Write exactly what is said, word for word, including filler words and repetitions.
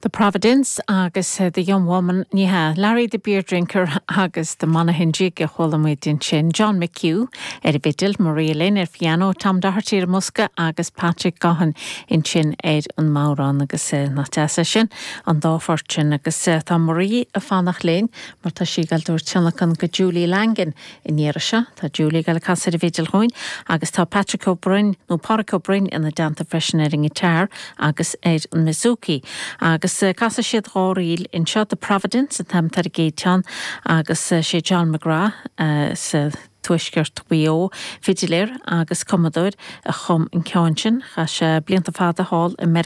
The Providence agus uh, The Young Woman ní hea Larry the Beer Drinker agus the Monaghan Jig a chuala muid ansin John McHugh ar an bhfidil Maria Lynn ar piano Tom Doherty ar bosca agus Patrick Gahan ansin ar an mbodhrán agus uh, nach deas sin an dá phort sin agus uh, tá Marie ag fanacht linn mar tá sí ag dul tionlacan go Julie Langan in seo tá Julie ag casadh ar an bhfidil dúinn agus tá Patrick O'Brien nó Pádraig Ó Broin ina dteannta freisin ar an guitar agus ar an bouzouki agus uh, casfaidh siad dhá ríl anseo The Providence an t-ainm ar an gcéad cheann agus uh, sé John McGrath uh, sa tuaisceart Mhaigh Eo fidiléir agus cumadóir a chum an ceann sin chaith sé blianta fada thall i